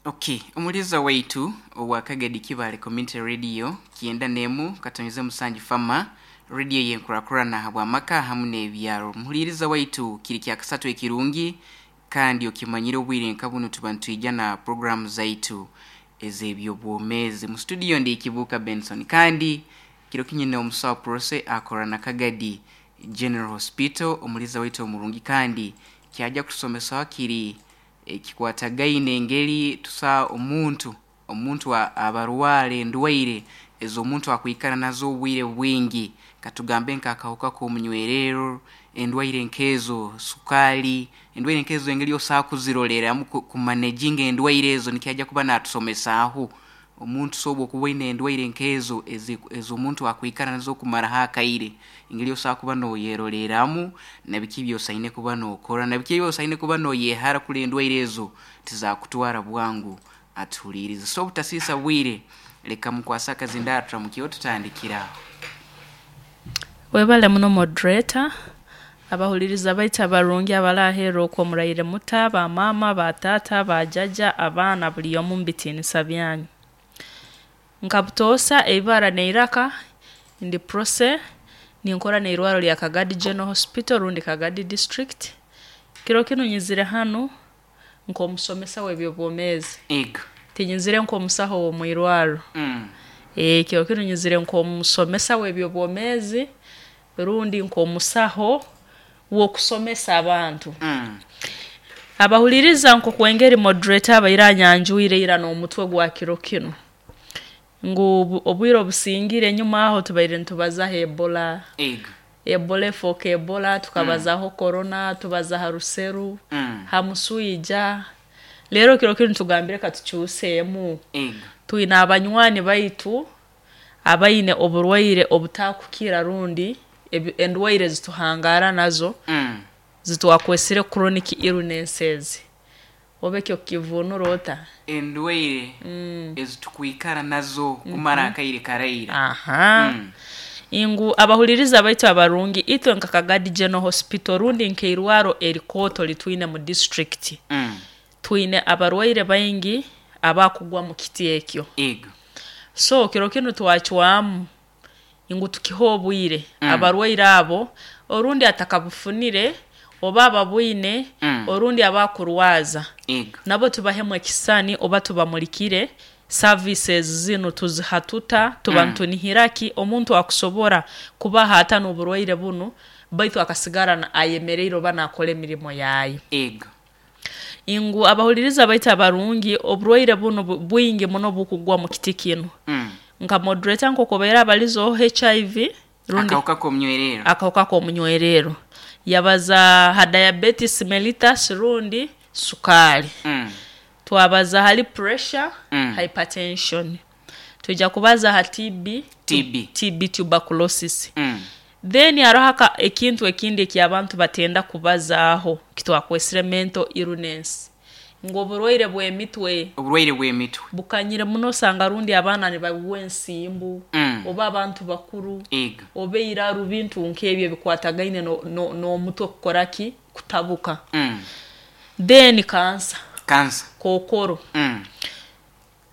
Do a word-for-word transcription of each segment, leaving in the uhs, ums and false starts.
Okay, omuliza waitu owa Kagadi Kibale Community Radio kyenda nemu katonyeze musanju fama radio yenkurakurana habwamaka hamu n'ebyaro. Muhuliriza waitu kiri kya kasatu ekirungi kandi okimanyire obwire nka buno tuba nitwija na programu zaitu ez'ebyobwomeezi. Mu studio ndi Kibuuka Benson kandi kiro kinyine omusawo Prose akora na Kagadi General Hospital, omuliza waitu omurungi kandi kyajja kutusomesa kiri ekikwatagaine engeri tusa omuntu omuntu abarwara endwaire ez'omuntu akwikara nazo obwire bwingi, katugambe nk'akahuka k'omunywerero, endwaire nkezo sukali, endwaire nkezo engeri osobola kuziroreramu kumanaginga endwaire ezo nikyajja kuba natusomesaaho. Omuntu soba okuba oine endwaire nkezo ez'omuntu akwikara nazo kumaraho akaire, engeri osobola kuba noyeroreramu nabiki ebyosaine kuba nokora, nabiki ebyosaine kuba noyehara kuri endwaire ezo tizakutwara bwangu. Atuhulirize. So obutasiisa bwire, leka mukwase akazindaaro turamukireho tutandikira aho. Webale muno moderator, abahuliriza baitu abarungi abaraheera okwo muraire muta, ba maama, ba taata, ba jjajja, abaana buri omu mubitiinisa byanyu. Nka butoosa eibara neiraka ndi Prose ninkora n'eirwaro rya Kagadi General Hospital rundi Kagadi District. Kiro kinu nyizire hanu nk'omusomesa w'ebyobwomeezi. Ego. Tinyizire nk'omusaho w'omwirwarro. Mm. Ee, kiro kinu nyizire nk'omusomesa w'ebyobwomeezi rundi nk'omusaho w'okusomesa abantu. Mm. Abahuliriza nk'oku engeri moderator abaire anyanjwire ira n'omutwe gwa kiro kinu ngu obwire obusingire enyuma aho tubaire nitubazaho Ebola. Ego. Ebola efooka Ebola, tukabazaho Corona, tubaza ha ruseru, Mm. ha muswija. Leero kiro kinu tugambire katukyuseemu. Ego. Twine abanywani baitu abaine oburwaire obutakukira rundi endwaire ezituhangaara nazo Mm. zitwakwesire chronic illnesses. Oba ekyo okukivunura ota? Endwaire Mm. ezitukwikara nazo kumara akaire karaira. Aha. Mm. Ngu abahuliriza baitu abarungi itwe nka Kagadi General Hospital rundi nk'eirwaro erikooto litwine mu district Mm. twine abarwaire baingi abakugwa mu kiti ekyo. Ego. So kiro kinu twacwamu ngu tukihe obwire Mm. abarwaire abo orundi atakabufunire oba ababwine Mm. orundi abakurwaza Ego. nabo tubahemu ekisani oba tubamulikire services zinu tuziha tuta tuba Mm. ntunihiraki omuntu akusobora kubaha ata n'oburwaire bunu baitu akasigara ayemereire oba nakora emirimo yayo. Ego. Ngu abahuliriza baitu abarungi oburwaire bunu bwingi muno bukugwa mu kiti kinu. Mm. Nka moderator nk'oku obaire abalizeho H I V rundi akahuka k'omunywerero. Akahuka k'omunywerero. Yabaza ha diabetes mellitus rundi sukali. Mm. Twabaza hali pressure, Mm. hypertension. Tuja kubaza ha T B, T B. T B tuberculosis. Mm. Then hariho ekintu ekindi eky'abantu batenda kubazaaho kitwakwesire mental illness. Ngu oburwaire bw'emitwe. Oburwaire bw'emitwe. Bukanyire muno osanga rundi abaana nibagwa ensimbu, Mm. oba abantu bakuru, Ego. oba eiraru bintu nk'ebyo ebikwatagaine n'omutwe kukora ki? Kutabuka. Mm. Then cancer. Cancer. Kokoro. Mm.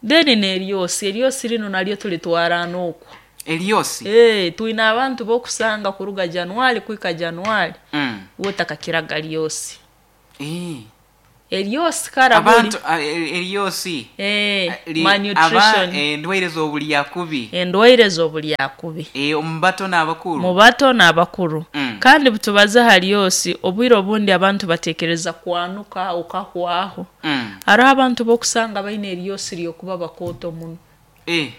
Then n'eryosi, eryosi rino naryo tulitwara n'okwo. Eryosi? Eh, twine abantu b'okusanga kuruga January kuhika January. Mm. Wotakakiraga ryosi. Eh. Eryosi kara buli. Abantu eryosi. Eh, malnutrition. Endwaire z'obulyakubi. Endwaire z'obulyakubi. Eh, omu bato n'abakuru. Mu bato n'abakuru. Mm. Kandi butubaze haryosi obwire obundi abantu batekereza kwanuka okahwaho. Mm. Hariho abantu b'okusanga baine eryosi ryokuba bakooto muno. Eh.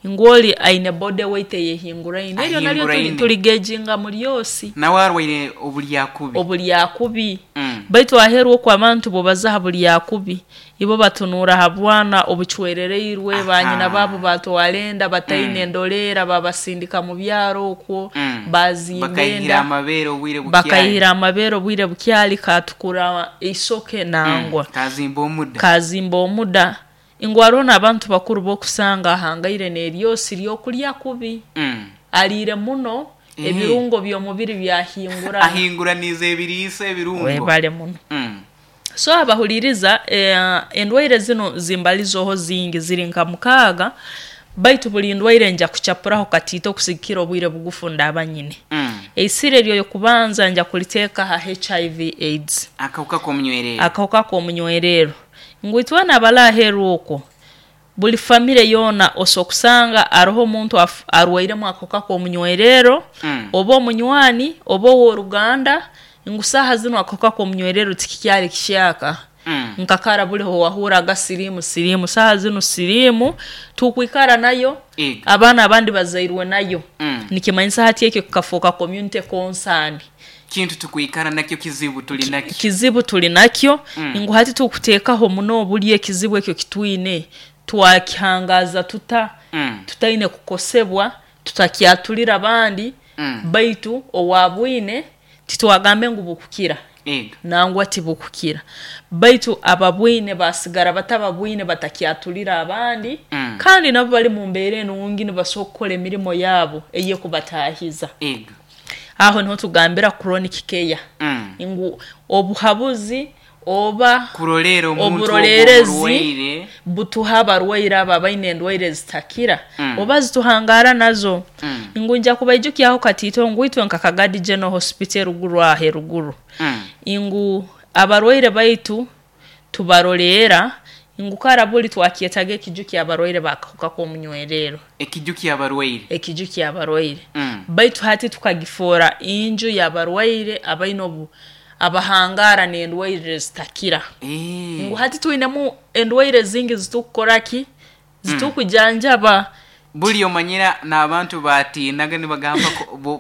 Ngoli aine body weight eyehinguraine. Eryo naryo tuligeginga mu ryosi. Nawe arwaire obulyakubi. Obulyakubi. Mm. Baitu aheru okwo abantu bobaza ha bulyakubi ibo batunura ha bwana obuchwerereirwe banyina babo batwalenda bataine Mm. endolera babasindika mu byaro okwo Mm. bazimba bakayihira amabere obwire bukyali bakayihira amabere obwire bukyali katukura isoke nangwa mm. Kazimba omuda kazimba omuda ingwarona abantu bakuru bokusanga ahangaire n'eryosi ryokulya kubi mm. alire muno mm. Ebirungo by'omubiri byahingura ahinguraniza ebiriisa ebirungo webale muno mm. So abahuliriza, eh, endwaire zino zimbalizoho zingi, ziri nka mukaaga, baitu buli ndwaire nja kuchapuraho katiito okusigikira obwire bugufu ndaba nyine. Mm. Eisire eryo kubanza nja kuliteeka ha H I V AIDS, akawuka k'omunywerero. Akawuka k'omunywerero ngu itwena abalaheru okwo buli famire yoona osokusanga aroho omuntu arwairemu akawuka k'omunywerero, mm. oba omunywani oba ow'oruganda, ngu saaha zino akawuka k'omunywerero tikikyali kishyaka. Mm. Nkakara buliho wahuraga sirimu sirimu, saaha zino sirimu tukwikara nayo, Ega. abaana abandi bazairwe nayo. Mm. Nikimanyisa hati ekyo kikafuuka community concern, kintu tukwikara nakyo, kizibu tuli nakyo, kizibu tuli nakyo. Mm. Ngu hati tukuteekaho muno obuli ekizibu ekyo kitwine twakihangaza tuta, mm. tutaine kukosebwa, tutakyatulira abandi. Mm. Baitu owabwine titwagambe ngu bukukira. Ega. Nangwa tibukukira, baitu ababwine basigara batababwine batakyatulira abandi. Mm. Kandi nabo bali mu mbeera enungi nibasobola kukora emirimo yaabo eyekubatahiza. Ega. Aho niho tugambira chronic care. Mm. Ngu obuhabuzi oba kurolera omuntu oburolerezi ogw'omurwaire butuha abarwaire abo abaine endwaire zitakira, Mm. oba zituhangara nazo. Mm. Ngu nja kubaijukyaho katiito ngu itwe nka Kagadi General Hospital ruguru ahe ruguru. Mm. Ngu abarwaire baitu tubarolera, ngu karabuli twakyetaga ekiju ky'abarwaire bakahuka k'omunywerero. Ekiju ky'abarwaire. Ekiju ky'abarwaire. Mm. Baitu hati tukagifoora inju y'abarwaire abaine obu abahangara n'endwaire zitakira. Eh. Ngu hati twinemu endwaire zingi zitukukoraki, zitukujanjaba. Mm. Buli omanyira n'abantu batiinaga nibagamba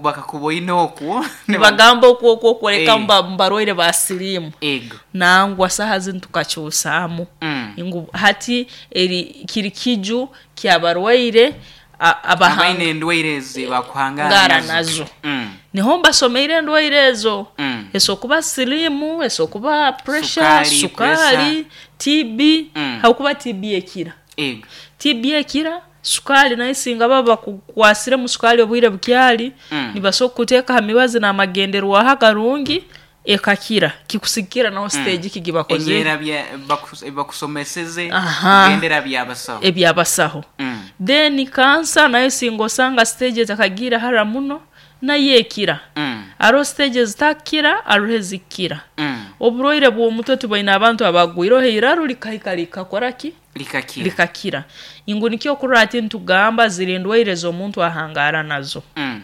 bakakuboine okwo. Nibagamba okwo okwo kworeka Eh. mba mbarwaire ba sirimu. Ego. Nangwa saha zinu tukakyusaamu. Mm. Ngu hati eri kiri kiju ky'abarwaire abahanga abaine endwaire ezi bakuhangara ngara nazo. nazo. Mm. Niho mbasomeire endwaire ezo. Mm. Esokuba sirimu, esokuba pressure, Sukari, sukari, T B, Mm. hakuba T B ekira. Ego. T B ekira, sukari nayo singa baba bakukwasire mu sukari obwire bukyali, Mm. nibasobola kuteeka ha mibazi n'amagenderwaho agarungi ekakira, kikusikira naho stage Mm. kigibakoze. Enyera bya bakusomeseze, Aha. gendera byabasaho. Ebyabasaho. Mm. Then kansa nayo singa osanga stage etakagira hara muno nayo ekira. Mm. Aro stage zitakira, arohe zikira. Mm. Oburwaire bw'omutwe tubaine abantu abagwireho eiraru likahika likakoraki? Likakira. Likakira. Ingu nikyo kurora ati ntugamba ziri endwaire z'omuntu ahangara nazo. Mm.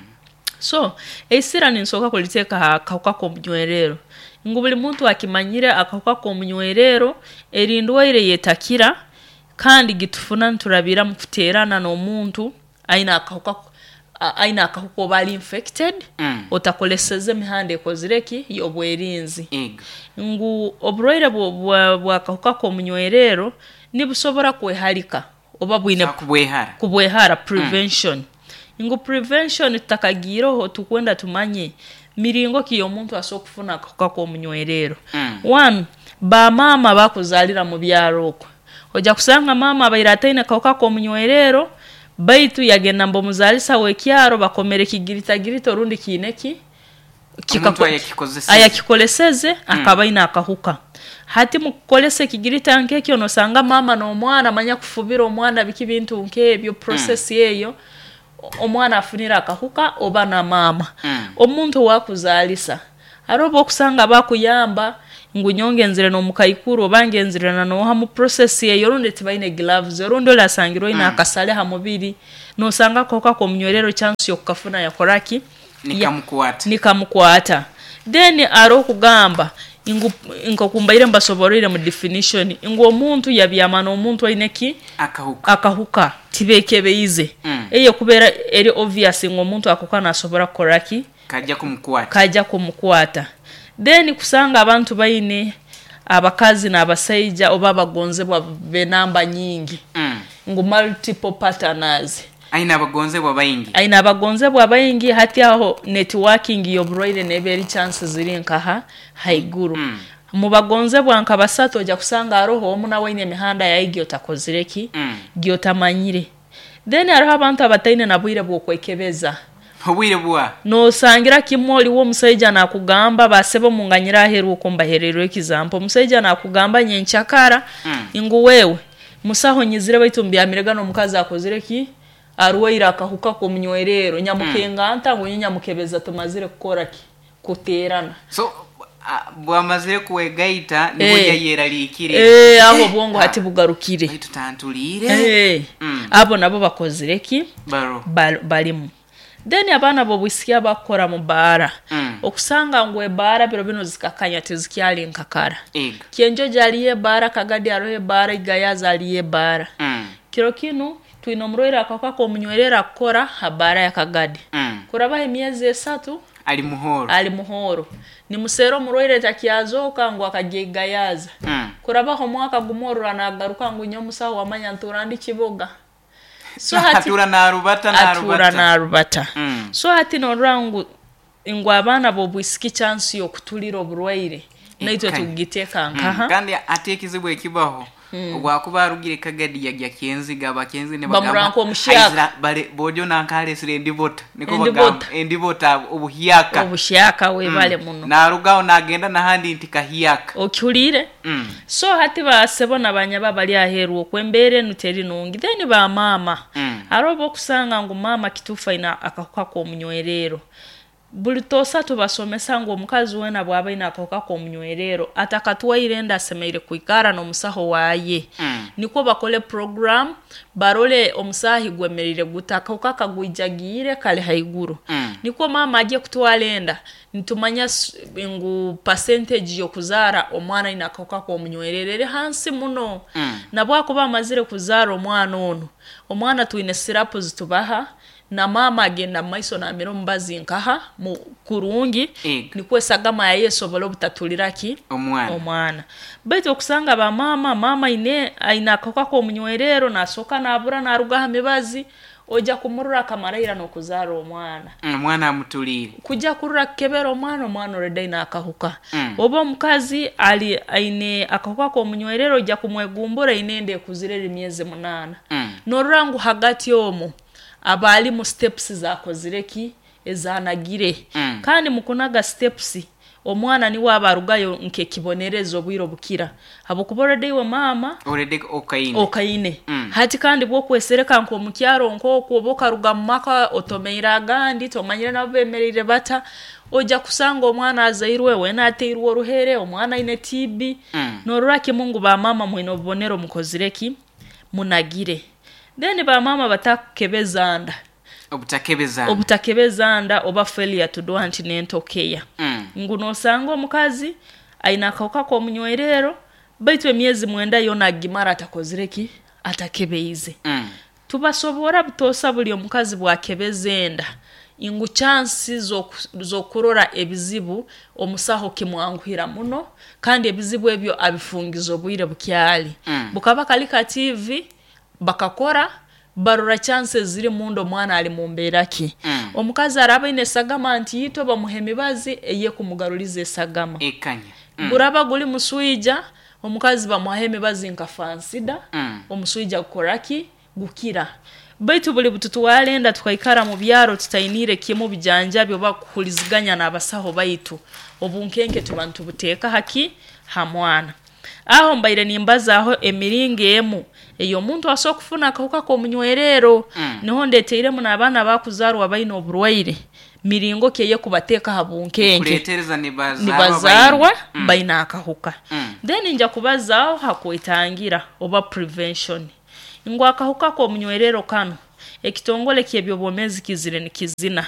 So eisira ninsoka kuliteeka ha kahuka k'omunywerero. Ngu buli muntu akimanyire akahuka k'omunywerero eri ndwaire yetakira, kandi gitufuna nturabira mu kuteerana n'omuntu aine akahuka, aine akahuka oba ali infected. Mm. Otakoleseze emihanda ekozireki y'obwerinzi. Ego. Ngu oburwaire bw'akahuka k'omunywerero nibusobora kweharika oba bwine kubwehara. Kubwehara prevention. Mm. Ngu prevention tutakagiroho tukwenda tumanye miringo ki omuntu asobola kufuna akahuka k'omunywerero. Mm. One, ba mama bakuzalira mu byaro okwo. Ojja kusanga mama abaire ataine akahuka k'omunywerero, baitu yagenda mbomuzalisa w'ekyaro bakomere kigiritagirita orundi kiineki Omuntu ayakikozeseze. Ayakikoleseze Mm. akaba aine akahuka. Hati mukukolesa ekigirita nk'ekyo nosanga mama n'omwana manya kufubira omwana biki bintu nk'ebyo process Mm. eyo omwana afunira akahuka oba na mama. Mm. Omuntu wakuzalisa aroba okusanga bakuyamba ngu nyongenzire n'omukaikuru oba ngenzire na noha mu process eyo rundi tibaine gloves orundi olasangirwe ina Mm. akasale ha mubiri nosanga akahuka k'omunywerero chance yokukafuna yakoraki nikamukwata nikamukwata. Then aro kugamba ingu nkokumbaire mbasoborere mu definition ngu omuntu yabyama n'omuntu aine ki akahuka akahuka tibekebeize. Mm. Eye kubera eri obvious ngu omuntu akoka nasobora kukoraki kajja kumukwata kajja kumukwata. Then kusanga abantu baine abakazi n'abasaija oba abagonzebwa benamba nyingi. Mm. Ngu multiple partners. Aina abagonzebwa baingi. Aina abagonzebwa baingi hati aho networking y'oburwaire neberi chances ziri nkaha haiguru. Mm. Mu bagonzebwa nka basatu ojja kusanga aroho omu nawe aine emihanda yaigi otakozireki Mm. gyotamanyire. Then hariho abantu abataine na bwire bw'okwekebeza. Obwire bwa Nosangira kimwe oliwo omusaija nakugamba, basebo munganyira aheru uko mbahererwe example, omusaija nakugamba nyenkyakara Mm. ngu wewe musaho nyizire baitu mbyamirega n'omukazi akozire ki, arwaire akahuka k'omunywerero, nyamukenga nta ngu nyamukebeza tumazire kukora ki, kuterana. So a- bwamazire kuwegaita nibwo Eh. yayeraliikire. Eh, aho obwongo hati bugarukire. Baitu tantuliire. Eh, Mm. abo nabo bakozire ki, baro Bal- balimu. Then abaana b'obwisiki abakukora mu baara, Mm. okusanga ngu ebaara biro bino zikakanya, tizikyali nkakara. Ego. Kyenjojo aliyo ebaara, Kagadi hariho ebaara, Igayaza aliyo ebaara. Mm. Kiro kinu twine omurwaire akahuka k'omunywerero akukora ha baara ya Kagadi. Mm. Kurabaho emyezi esatu ali muhoro. Ali muhoro, nimuseera omurwaire takyazooka ngu akajya Igayaza. Mm. Kurabaho omwaka gumwe orura nagaruka ngu nyowe omusaho wamanya ntuura ndi Kiboga. So hati atura narubata. Atura Narubata. Narubata. Mm. So hati norora ngu ngu abaana b'obwisiki chance y'okutulira oburwaire naitwe Ekanya. tugiteeka Mm. nkaha. Kandi ate ekizibu ekibaho, obwakuba arugire Kagadi yajya Kyenziga, abakenzi ne Bamuranka omuhyaka. "Aizira, bale bojo nankalesire endibota," niko Endibota. bagamba endibota, obuhyaka. Obuhyaka, webale muno. Narugaho nagenda nahandi nti kahyaka. Okihuliire? Mm. So hati basebo nabanyaba bali aheeru okwembeera enu teri nungi. Then bamaama, Mm. hariho oba okusanga ngu maama kituufu aine akahuka k'omunywerero. Buli toosa tubasomesa ngu omukazi weena bw'aba aine akahuka k'omunywerero atakatwaire enda asemereire kwikara n'omusaho waaye, Mm. nikwo bakole program barole omusaahi gwemerire guta, akahuka kagwijagiire kali haiguru, Mm. nikwo maama ajye kutwara enda nitumanya s- ngu percentage y'okuzaara omwana aine akahuka k'omunywerero eri hansi muno. Mm. Nabwakuba amazire kuzaara omwana onu, omwana twine sirapu zitubaha, na maama agenda mu maiso namira omubazi nkaha mu kurungi, Ego. nikwo esagama yaye esobole obutatulira ki, omwana. Omwana. Baitu okusanga bamaama, maama aine aine akahuka k'omunywerero nasooka nabura naruga aha mibazi, ojja kumurura akamaraira n'okuzaara omwana. Mm, omwana amutuliire. Kujja kurura kukebera omwana, omwana already aine akahuka. Mm. Oba omukazi ali aine akahuka k'omunywerero, ojja kumwegumbura aine enda ekuzire eri myezi munaana. Mm. Norora ngu hagati omwo aba ali mu steps zakozire ki, ezanagire. Mm. Kandi mukunaga steps omwana niwe aba arugayo nk'ekibonerezo obwire obukira, habwokuba already iwe maama already okaine. Okaine. Mm. Hati kandi bwokwesereka nk'omukyaro nk'okwo, oba okaruga mu maka otomeire agandi, tomanyire nabo bemereire bata, ojja kusanga omwana azairwe weena ateirwe oruhere, omwana aine T B. Mm. Norora kimu ngu bamaama mwine obubonero mukozire ki, munagire. Then bamaama batakukebeza nda. Obutakebeza. Obutakebeza nda oba failure to do antenatal care. Mm. Ngu nosanga omukazi aine akahuka k'omunywerero baitu emyezi mwenda yona agimara atakozire ki, atakebeize. Mm. Tubasobora butoosa buli omukazi bwakebeza enda ngu chansi z'oku- z'okurora ebizibu omusaho kimwanguhira muno, kandi ebizibu ebyo abifungiza obwire bukyali. Mm. Bukaba kali ka T V bakakora barora chances ziri munda omwana ali mu mbeera ki. Mm. Omukazi araba aine esagama nti yitwe bamuha emibazi eyekumugaruliza esagama. Ekanya. Mm. Guraba guli muswija, omukazi bamuhaho emibazi nka Fansida, Mm. omuswija gukoraki, gukira. Baitu buli bututwara enda tukaikara mu byaro tutainiire kimu bijanjabi oba kuhuriziganya n'abasaho baitu, obunkenke tuba nitubuteeka haki, ha mwana. Aho mbaire nimbazaaho emiringo emu ey'omuntu asobola kufuna akahuka k'omunywerero. Mm. Niho ndeteiremu n'abaana bakuzaarwa baine oburwaire, miringo ki eyekubateeka ha bunkenke. Kuletereza nibazaarwa. Nibazaarwa baine. Mm. baine akahuka. Mm. Then nja kubazaaho hakwetangira oba prevention, ngu akahuka k'omunywerero kano ekitongole ky'ebyobwomeezi kizire nikizina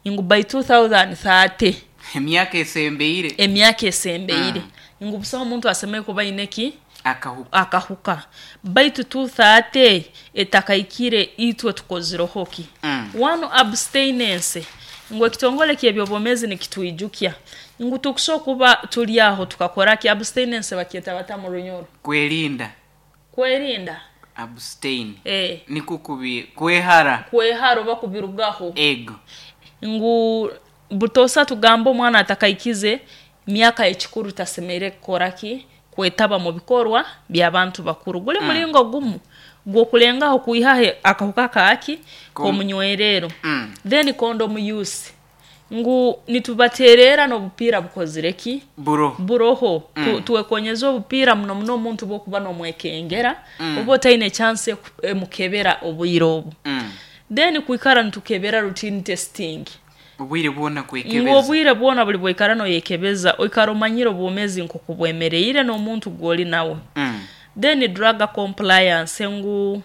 ngu by twenty thirty, emyaka esembeire. Emyaka esembeire, ngu busaho omuntu asemere kuba aine ki, akahuka. Akahuka. Baitu twenty thirty etakaikire, itwe tukozireho ki? Mm. One, abstinence, ngu ekitongole ky'ebyobwomeezi nikitwijukya ngu tukusobola kuba tuli aho tukakora ki, abstinence bakyeta bata mu Runyoro? Kwerinda. Kwerinda. Abstain. Eh. Nikukubi kwehara. Kwehara oba kubirugaho. Ego. Ngu butosa tugamba omwana atakaikize myaka ekikuru tasemeire kukora ki, Kwetaba mu bikorwa by'abantu bakuru guli mulingo gumu gw'okulengaho kwihaho akahuka kaaki k'omunywerero. Mm. Then condom use, ngu nitubaterera n'obupiira bukozire ki? Buro. Buroho. Mm. Tu, twekonyeza obupiira muno muno omuntu bwokuba nomwekengera, Mm. oba otaine chance eku- emukebera obwire obu. Mm. Then kwikara nitukebera, routine testing. Obwire bwona Ngu kwekebeza. Obwire bwona buli bwaikara noyekebeza, oikara omanyire obwomezi nkoku bwemereire n'omuntu gwoli nawe. Mm. Then drug compliance, ngu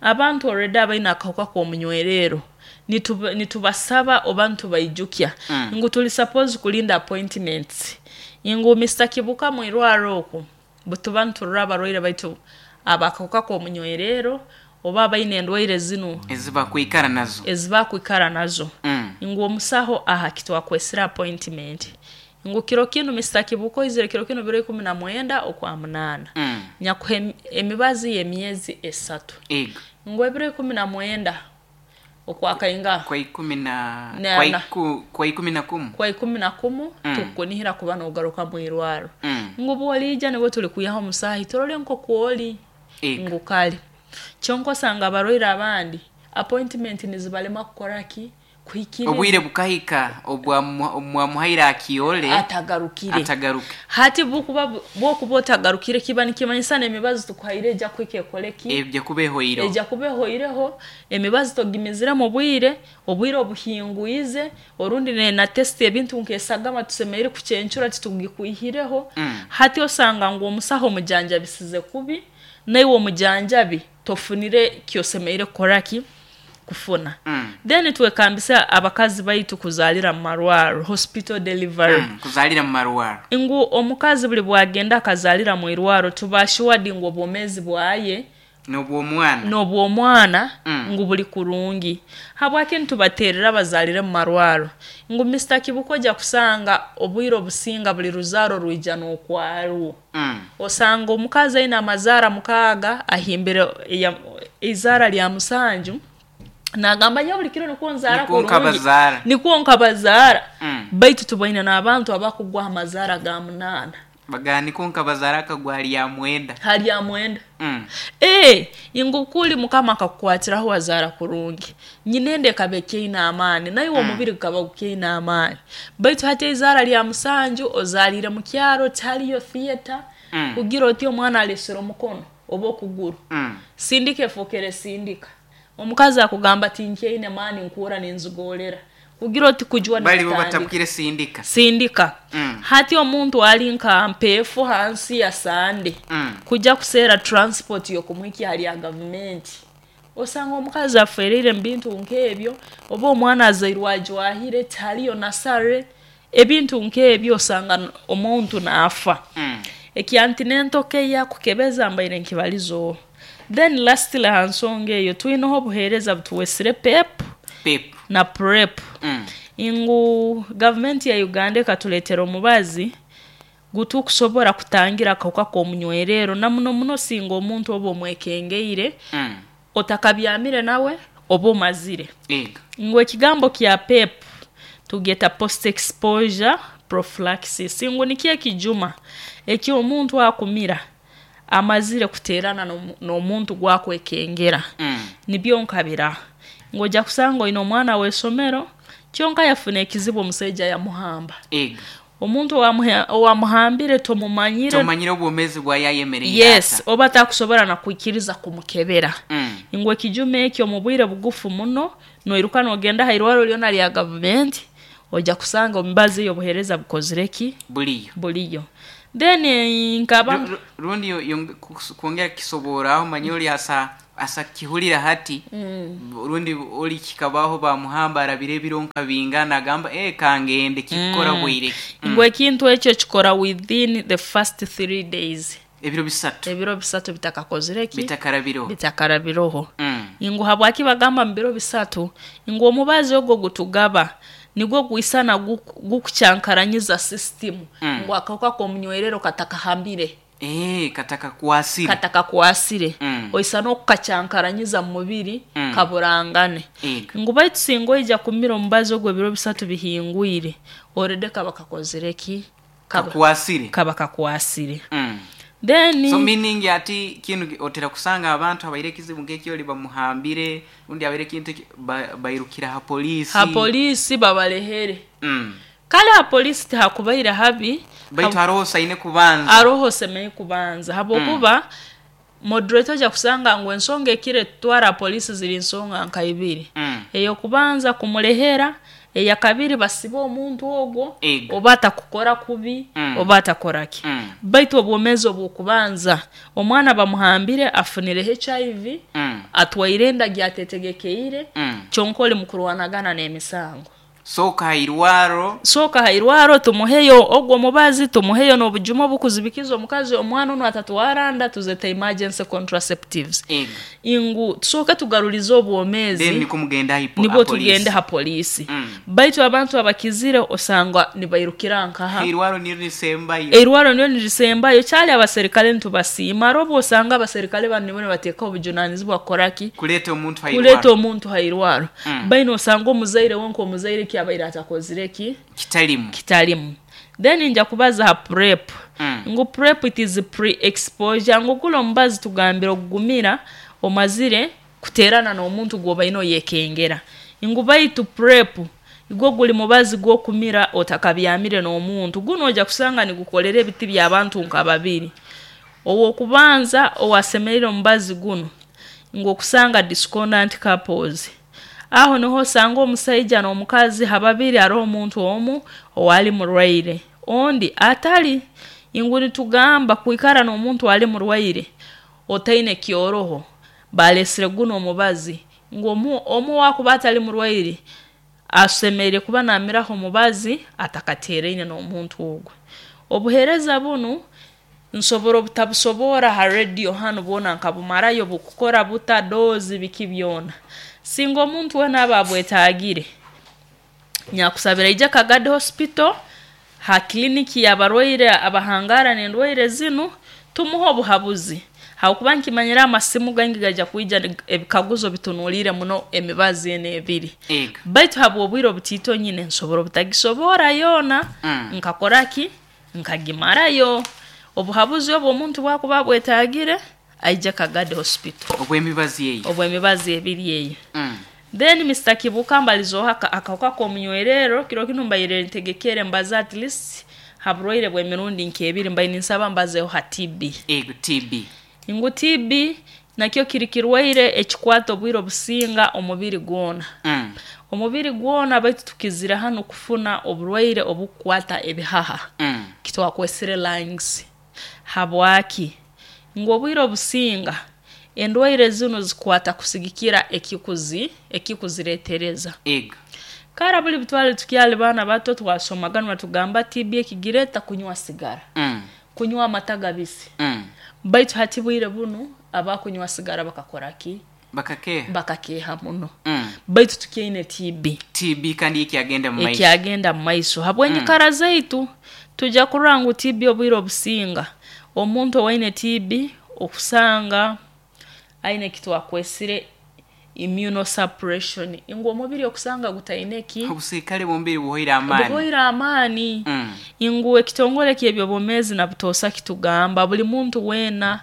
abantu already abaine akahuka k'omunywerero nituba- nitubasaba oba nitubaijukya Mm. ngu tuli suppose kulinda appointments. Ngu Mister Kibuka, mwirwaro oku butuba niturora abarwaire baitu abakahuka k'omunywerero oba abaine endwaire zinu ezibakwikara nazo. Ezibakwikara nazo. Mm. Ngu omusaho aha kitwakwesera appointment ngu kiro kinu, Mister Kibuka, oizire kiro kinu biro ikumi na mwenda okwa munaana, Mm. nyakuha emi- emibazi y'emyezi esatu. Ego. Ngu ebiro ikumi na mwenda okwakainga Kwa ikumi na Na- kwa na. iku, kwa ikumi na kumu. Kwa ikumi na kumu. Mm. Tukukunihira kuba nogaruka mwirwaro. Mm. Ngu bwoliija nibwo tuli kwihaho omusahi turole nkokwoli. Ego. Ngu kale kyonka osanga abarwaire abandi appointment nizibalema kukora ki? Kuhikiriza. Obwire bukahika obwamuhaire akiyole atagarukire. Atagaruke. Hati bukuba bwokuba otagarukire kiba nikimanyisa n'emibazi tukuhaire ejja kuhika ekole ki? Ebyo kuba ehoireho. Ejja kuba ehoireho, emibazi togimizire mu bwire, obwire obuhingwize, orundi ne- na test ebintu nk'esagama tusemereire kucencura titugikwihireho. Mm. Hati osanga ngu omusaho omujanjabisize kubi, naiwe omujanjabi tofunire kyosemereire kukora ki? Kufuna. Mm. Then twekambisa abakazi baitu kuzaalira mu marwaro, hospital delivery. Mm. Kuzalira mu marwaro. Ngu omukazi buli bwagenda akazaalira mu irwaro, tuba assured ngu obwomezi bwaye n'obwomwana n'obwomwana Mm. ngu buli kurungi. Habwaki nitubaterera abazaalire mu marwaro? Ngu Mister Kibuka, ojja kusanga obwire obusinga buli ruzaaro rwija n'okwarwo. Mm. Osanga omukazi aine amazaara mukaaga, ahimbire eya- izaara lya musanju, nagamba nyo buli kiro nikwo nzaara Nikwo kurungi. nkabazaara. Nikwo nkabazaara. Mm. Baitu tubaine n'abantu abakugwa amazaara ga munaana. Bagamba niko nkabazaara akagwa lya mwenda. Halya mwenda. Mm. Ee, ngu kuli mukama akakukwatiraho wazaara kurungi, nyinende ekaba ekyaine amaani, naiwe omubiri gukaba gukyaine amaani, baitu hati eizaara lya musanju ozaalire mu kyaro, tihariyo theatre. Mm. Kugira oti omwana alesere omukono oba okuguru, Mm. sindika efokere sindika, omukazi akugamba tinkyaine maani, nkuura ninzigorera kugira oti kujwa Bali bo nikutandika. batabukire sindika. Sindika. Mm. Hati omuntu ali nka mpeefu hansi ya sande, Mm. kujja kuseera transport yokumwikya hali ya gavumenti, osanga omukazi afereire mu bintu nk'ebyo, oba omwana azairwe ajwahire, tihariyo nasare, ebintu nk'ebyo, osanga n- omuntu naafa. Mm. Ekyanti n'entoke kukebeza mbaire nkibalizo. Then lastly, ha nsonga eyo twineho obuheereza butuwesire PEP PEP. Na PrEP. Mm. Ngu gavumenti ya Uganda ekatuleetera omubazi gutukusobora kutangira akahuka k'omunywerero, na muno muno singa omuntu oba omwekengeire Mm. otakabyamire nawe oba omazire. Ego. Ngu ekigambo kya PEP tugeta post exposure prophylaxis, ngu nikyo ekijuma eki omuntu akumira amazire kuterana n'omu- n'omuntu gwakwekengera. Mm. Nibyo nkabira ng'ojja kusanga oine omwana w'esomero, kyonka yafuna ekizibu, omusaija yamuhamba. Ego. Omuntu owamuhe- owamuhambire tomumanyire. Tomanyire obwomezi bwa yayemereire. Yes. Ata. Oba takusobora nakwikiriza kumukebera. Mm. Ngu ekijuma ekyo mu bwire bugufu muno noiruka nogenda ha irwaro lyona lya gavumenti, ojja kusanga omubazi eyo obuheereza bukozire ki? Buliyo. Buliyo. Then eh, nkaba Ru- ru- rundi yo- yonge- kus- kwongera kisoboraho, manye oli asa asa kihulira hati, mm. rundi oli kikabaho bamuhamba, arabire ebiro nka bingana, agamba eh kangende kikora mm. bwire. Mm. Ngu ekintu ekyo kikora within the first three days. Ebiro bisatu. Ebiro bisatu bitakakozire ki? Bitakarabireho. Bitakarabiroho. Mm. Ngu habwaki bagamba mu biro bisatu? Ngu omubazi ogwo gutugaba nigwo gwisana guku- gukucyankaranyiza system. Mm. Ngu akahuka k'omunywerero katakahambire. Eh katakakwasire. Katakakwasire. Mm. Oisa n'okukacyankaranyiza mu mubiri, Mm. kaburangane. Ego. Ngu baitu singa oija kumira omubazi ogwo ebiro bisatu bihingwire, orede kaba kakozire ki? Kaba, kakwasire. Kaba kakwasire. Mm. Then So meaning ati kinu otera kusanga abantu abaire ekizibu nk'ekyoli bamuhambire, undi abaire ekintu eki- ba- bairukira ha polisi. Ha polisi babalehere. Mm. Kale ha polisi tihakubaire habi. Baitu haroho osaine kubanza. Aroho osemeye kubanza habwokuba mm. moderator aja kusanga ngu ensonga ekire tutwara polisi ziri nsonga nka ibiri. Mm. Eyokubanza kumulehera, eyakabiri basiba omuntu ogwo Ego. oba atakukora kubi, Mm. oba atakora ki. Mm. Baitu obwomezi obwokubanza omwana bamuhambire afunire H I V, Mm. atwaire enda gyatetegekeire, Mm. kyonka oli mukurwanagana n'emisango. Soka hairwaro. Soka hairwaro tumuheyo ogwo mubazi, tumuheyo n'obujuma obukuzibikiza omukazi omwana ono atatwaranda, tuzeta emergency contraceptives. Ego. Ingu tusooke tugarulize obwomezi. Then niko mugenda ha nibwo polisi. tugende ha polisi. Mm. Baitu abantu abakizire osanga nibairukira nkaha. Hairwaro niyo nisembayo. Eirwaro niyo nirisembayo. Kyali abaserikale ntubasiima, robo osanga abaserikale bano nibo nibateeka obujunanizibwa kukoraki? Kuleta omuntu hairwaro. Kuleta omuntu hairwaro. Mm. Baino osanga omuzaire wonka omuzaire ki abaire atakozire ki? Kitalimu. Kitalimu. Then nja kubaza ha PrEP. Mm. Ngu PrEP it is pre-exposure. Ngu kula omubazi tugambira okugumira omazire kuterana n'omuntu gwobaine oyekengera. Ngu baitu PrEP igwo guli mubazi gw'okumira otakabyamire n'omuntu. Guno ojja kusanga nigukolera ebiti by'abantu nka babiri. Owokubanza owasemerera omubazi guno ngu okusanga discordant couples. Aho niho osanga omusaija n'omukazi hababiri hariho omuntu omu owali murwaire ondi atali. Ingu nitugamba kwikara n'omuntu ali murwaire otaine kyoroho balesire guno omubazi ngu omu, omu wakuba atali murwaire asemereire kuba namiraho omubazi atakatereine n'omuntu ogwo. Obuhereza bunu nsobora obutabusobora ha radio hanu bwona nkabumarayo bukukora buta dozi biki byona. Singa omuntu wena aba abwetagire nyakusabira ija Kagadi Hospital ha kliniki y'abarwaire abahangara n'endwaire zinu tumuha obuhabuzi. Hakuba nkimanyira amasimu gangi gaja kuija ebikaguzo bitunulire muno emibazi ene ebiri. Ego. Baitu habwo obwire obutito nyine nsobora obutagisobora yona. Mm. Nkakoraki nkagimarayo. Obuhabuzi obwo omuntu bwakuba bwetagire aija Kagadi Hospital. Obwemibazi eyo. Obwemibazi ebiri eyo. Mm. Then Mister Kibuka mbalizoha akauka k'omunywerero kiro kino mbayire ntegekere mbaza at least haburwaire bw'emirundi nk'ebiri mbaye ninsaba mbazeho ha T B. Ego T B. Ngu T B nakyo kiri kirwaire ekikwata obwire obusinga omubiri gwona. Mm. Omubiri gwona baitu tukizira hano kufuna oburwaire obukwata ebihaha. Mm. Kitwakwesire lungs. Habwaki? Ngu obwire obusinga endwaire zino zikwata kusigikira ekikuzi ekikuziretereza. Ego. Kara buli bitwale tukyali bana bato twasomaga batugamba T B ekigireta kunywa sigara. Mm. Kunywa amata gabisi. Mm. Baitu hati bwire bunu abakunywa sigara bakakora ki? Bakakeha. Bakakeha muno. Mm. Baitu tukyaine T B. T B kandi ekyagenda mu maiso. Ekyagenda mu maiso. Habwenyikara mm. zaitu tujja kurora ngu T B obwire obusinga. Omuntu owaine T B okusanga aine kitwakwesire immunosuppression. Ingu omubiri okusanga gutaine ki? Obusikale bumbiri buhoira amani. Buhoira amani. Mm. Ingu ekitongole ky'ebyobomezi na butosa kitugamba buli muntu wena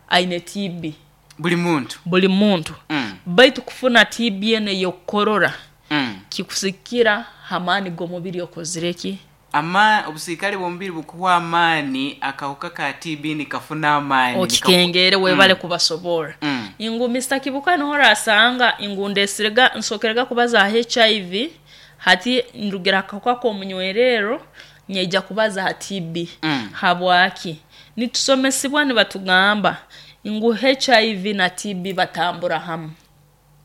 aine T B. Buli muntu. Buli muntu. Mm. Baitu kufuna T B ene yokorora. Mm. Kikusikira hamani g'omubiri okozireki. Ama obusikale bumbiri bukuwa amani akahuka ka T B nikafuna amani. Okikengere webale mm. kubasobora. Mm. Ingu Mister Kibuka nohora asanga ingu ndesirega nsokerega kubaza H I V hati ndugira akahuka k'omunywerero nyeja kubaza ha T B. Mm. Habwaki? Nitusomesibwa nibatugamba ingu H I V na T B batambura hamu.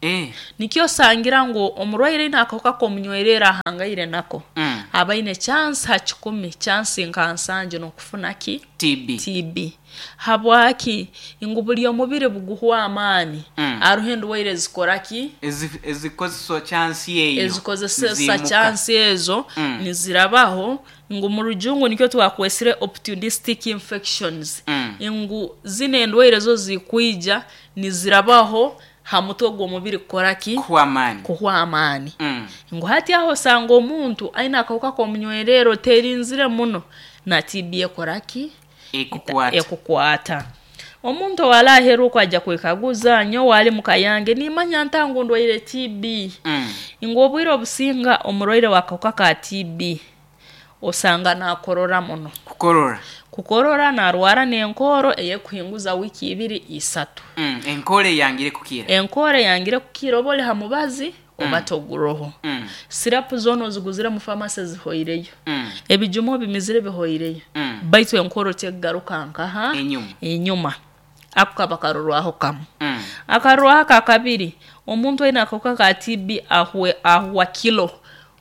Eh. Nikyo sangira ngo omurwaire ina akahuka k'omunywerera ahangaire nako. Mm. Abaine chance ha kikumi chance nka nsanje n'okufuna ki? T B. T B. Habwaki? Ingu buli omubiri buguhwa amani. Mm. Aruho endwaire zikora ki? Ezikozesa chance eyo. Ezikozesa chance ezo mm. nizirabaho. Ngu mu rujungu nikyo twakwesire opportunistic infections. Mm. Ingu zine endwaire zo zikwija nizirabaho ha mutwe gw'omubiri kukora ki? Kuhwa amani. Kuhwa amani. Mm. Ngu hati aho sanga omuntu aine akahuka k'omunywerero terinzire muno na T B ekora ki? Ekukwata. Ekukwata omuntu owaraheru okwo ajja kwekaguza, nyowe ali muka yange nimanya ntangu ndwaire T B. Mm. Ngu obwire obusinga omurwaire w'akahuka ka T B osanga nakorora muno. Kukorora. Kukorora, narwara n'enkooro eyekuhinguza wiiki ibiri, isatu. Mm. Enkore eyangire kukira. Enkooro eyangire kukira, oba oli ha mubazi oba toguroho, Mm. syrup zoona oziguzire mu famasi zihoireyo, Mm. ebijuma obimizire bihoireyo, Mm. baitu enkooro tekugaruka nkaha? Enyuma. Enyuma. Ako kaba karorwaho kamu. Mm. Akarorwaho aka kabiri, omuntu aine akahuka ka T B ahwe ahwa kilo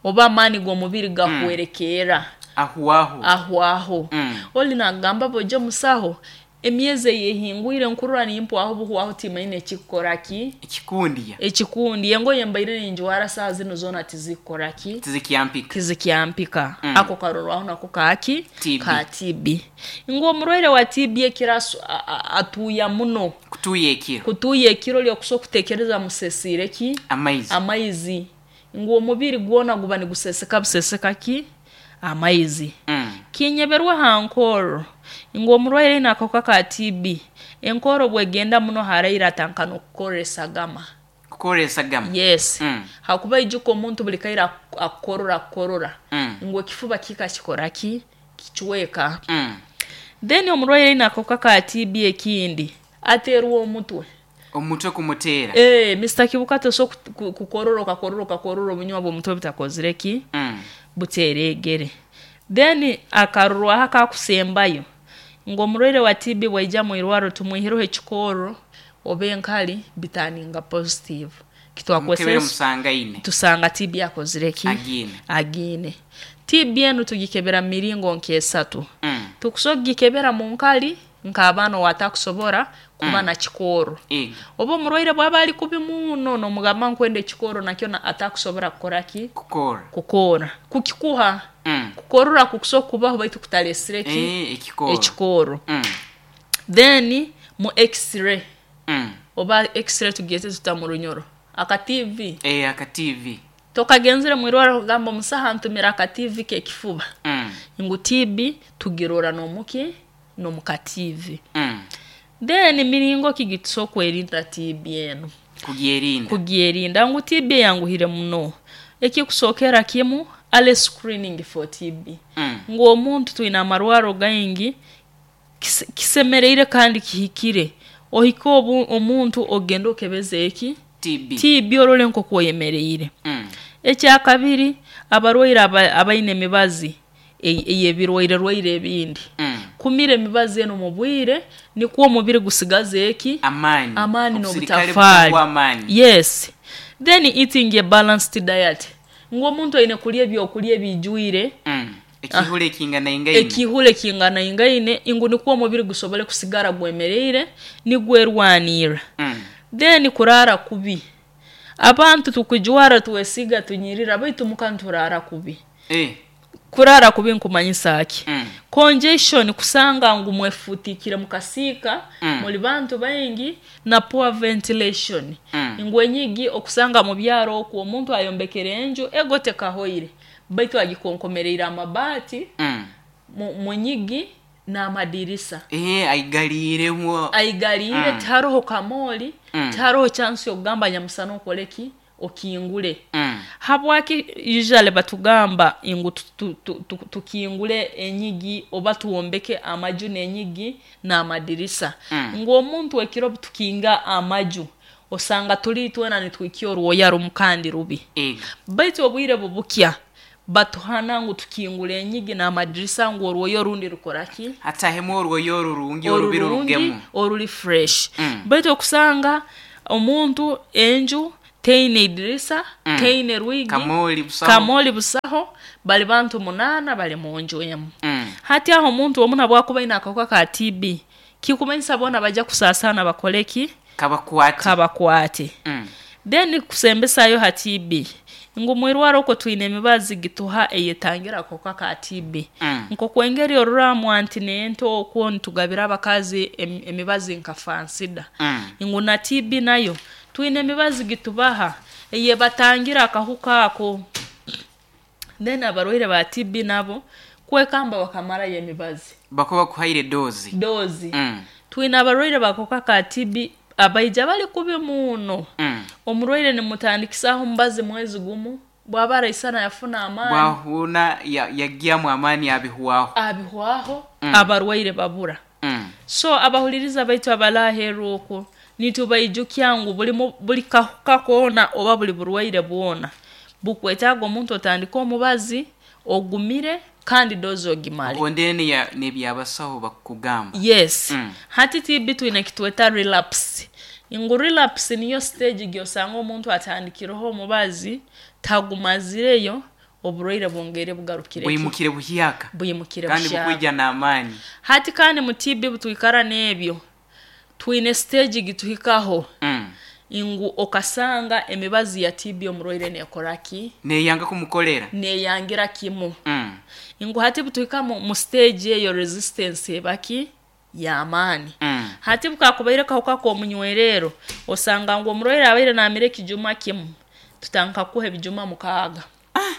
oba amaani g'omubiri gahwerekeera. Ahuahu. Ahwaho. Mm. Oli nagamba, bojo musaho, emyezi eyehingwire nkurura nimpwaho buhwaho, timaine ekikukora ki. Ekikundiya. Ekikundi, engoye mbaire ninjwara saa zino zoona tizikukora ki? Tizikyampika. Tizikyampika. Mm. Ako karorwaho nako kaki? T B. Ka T B. Ngu omurwaire wa T B ekiro asu- a- a- atuuya muno. Kutuya ekiro. Kutuuya ekiro lyokusobola kutekereza musesiire ki? Amaizi. Amaizi. Ngu omubiri gwona guba niguseseka buseseka ki? Amaizi. Mm. Kinyeberwa ha nkorro, ngu omurwaire aine akahuka ka T B, enkorro bwegenda muno haraire atanka n'okukorra esagama. Kukorra esagama. Yes. Mm. Hakuba ijuka omuntu buli kaire ak- akukorora akukorora, Mm. ngu ekifuba kika kikora ki? Kicweka. Mm. Then omurwaire aine akahuka ka T B ekindi ateerwa omutwe. Omutwe kumuteera. Eh, Mister Kibuka, tosobola kukorora okakorora okakorora obunywa bw'omutwe butakozire ki? Mm. Buteregere. Then akarorwaho akakusembayo, ngu omurwaire wa T B bwaija mu irwaro tumwihireho ekikorro oba enkali bitaninga positive. Mukebere. Kitwakwesa Musangaine. Tusanga T B akozire ki? Agiine. Agiine. T B enu tugikebera mu miringo nk'esatu. Mm. Tukusobola kugikebera mu nkali nk'abaana owatakusobora kuba Mm. na kikooro, Ego. oba omurwaire bwaba ali kubi muno nomugamba nkwenda ekikooro, nakyo na- atakusobora kukora ki? Kukora. Kukora kukikuha. Mm. Kukorora kukusobola kubaho baitu kutalesire ki? Eh, ekikoro. Ekikooro. Mm. Then mu X-ray, Mm. oba X-ray tugiyete tuta mu Runyoro? Aka T V. Eh, aka T V. Tokagenzere mwirwaro kugamba omusaha ntumira aka T V kekifuba. Mm. Ngu T B tugirora nomuki? Nomuka T V. Mm. Then miringo ki gitusobola okwerinda T B enu? Kugyerinda. Kugyerinda, ngu T B eyanguhire muno. Ekikusookera kimu, early screening for T B. Mm. Ngu omuntu twine amarwaro gaingi, kise- kisemereire kandi kihikire ohike obu omuntu ogende okebeze eki? T B. T B, orole nk'oku oyemereire. Mm. Ekyakabiri, abarwaire aba- abaine emibazi ey- ey'ebirwaire rwaire ebindi, Mm. kumira emibazi eno mu bwire nikwo omubiri gusigaze eki? Amaani. Amaani Obusirikale n'obutafaali. butakuwa amaani. Yes. Then eating a balanced diet, ngu omuntu aine kulya ebyokulya ebijwire. Mm. Ekihula ekinganaingaine. Ekihula ekinganaingaine, ngu nikwo omubiri gusobole kusigara gwemereire nigwerwanirra. Mm. Then kuraara kubi. Abantu tukujwara, twesiga, tunyirira, baitu muka nituraara kubi. Eh. Kuraara kubi nkumanyisa ki? Mm. Congestion, kusanga ngu mwefutikire mukasiika, Mm. muli bantu baingi, na poor ventilation. Mm. Ngu enyigi, okusanga mu byaro okwo omuntu ayombekere enju ego tekahoire, baitu agikonkomereire amabaati Mm. mu mu nyigi n'amadirisa. Eh, aigaliiremu. Aigaliire. Mm. Tiharoho kamooli. Mm. Tiharoho chance yokugamba nyamusana okole ki? Okingule. Mm. Habwaki usually batugamba ngu tu- tu- tu- tu- tukingule enyigi oba tuwombeke amaju n'enyigi n'amadirisa? Mm. Ngu omuntu ekiro tukinga amaju, osanga tuli twena nitwikia orwoya rumu kandi rubi. Ego. Baitu obwire bubukya batuhana ngu tukingule enyigi n'amadirisa, ngu orwoya orundi rukora ki? Hatahemu orwoya orurungi orubi Orurungi, rurugemu. Oruli fresh. Mm. Baitu okusanga omuntu enju teine idirisa, Mm. teine rwigi. Kamooli busaho. Kamooli busaho, bali bantu munaana bali mu nju emu. Mm. Hati aho omuntu omu nabwakuba aine akahuka ka T B, kikumanyisa boona bajja kusaasana bakole ki? Kabakwate. Kabakwate. Mm. Then kusembesayo ha T B, ngu mwirwaro okwo twine emibazi gituha eyetangira akahuka ka T B. Mm. Nkokwengeri oruramu antenatal okwo nitugabira abakazi em- emibazi nka Fansidar, Mm. ngu na T B nayo twine emibazi gitubaha eyebatangira akahuka ako. Then abarwaire ba T B nabo Kwekamba bakamarayo emibazi. Bakuba kuhaire dozi. Dozi. Mm. Twine abarwaire bakoka ka T B abaija bali kubi muno. Mm. Omurwaire nimutandikisaho omubazi mwezi gumu, bwaba araisana yafuna amaani. Bwahuna yagyamu amaani abihwaho. Abihwaho, mm. Abarwaire babura. Mm. So abahuliriza baitu abalaheru okwo nitubaijukya ngu buli buli kahuka koona oba buli burwaire bwona bukwetaaga omuntu otandika omubazi ogumire kandi dozi ogimale. Ondene ya nebyabasaho bakugamba. Yes. Mm. Hati T B twine kitweta relapse. Ngu relapse niyo stage gyosanga omuntu atandikireho omubazi tagumazireyo oburwaire bwongere bugarukire. Bwimukire buhyaka. Bwimukire kandi buhyaka. Bukwija n'amaani. Hati kandi mu T B butwikara n'ebyo. Twine stage gituhikaho. Mm. Ingu okasanga emibazi ya T B omurwaire nekoraki? Neyanga kumukolera. Neyangira kimu. Mm. Ingu hati butuhika mu, mu stage eyo resistance ebaki ya amani. Mm. Hati bukakubaire kahuka k'omunywerero osanga ngu omurwaire abaire namire ekijuma kimu tutanka kuha ebijuma mukaaga. Ah.